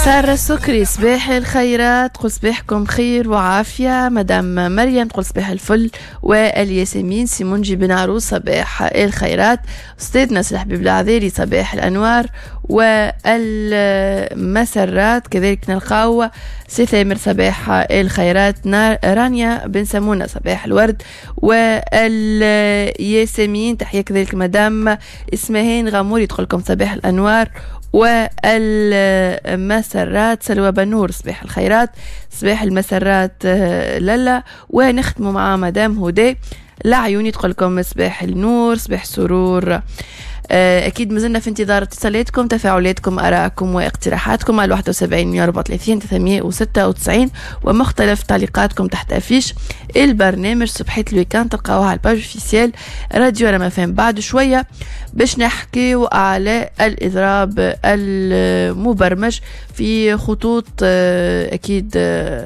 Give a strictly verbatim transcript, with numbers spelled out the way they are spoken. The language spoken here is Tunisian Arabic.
سارة السكري، صباح الخيرات، تقول صباحكم خير وعافية. مدام مريم تقول صباح الفل والياسمين. سي منجي بن عروس، صباح الخيرات. أستاذنا سي الحبيب العذاري، صباح الأنوار والمسرات. كذلك نلقاو سي ثامر، صباح الخيرات. رانيا بن سمونة، صباح الورد والياسمين. تحية كذلك مدام اسمهين غاموري، تقول لكم صباح الأنوار والمسرات. سلوى بنور، صباح الخيرات، صباح المسرات آه، لالا. ونختم مع مدام هدى العيوني، تقول لكم صباح النور، صباح سرور. آه، اكيد مازلنا في انتظار اتصالاتكم، تفاعلاتكم، ارائكم واقتراحاتكم على واحد وسبعين مية وأربعة وثلاثين ثلاثمية وستة وتسعين ومختلف تعليقاتكم تحت affiche البرنامج صبحية ال week-end، تلقاوها على ال page officielle راديو رما فهم. بعد شوية باش نحكيو على الاضراب المبرمج في خطوط آه، اكيد آه،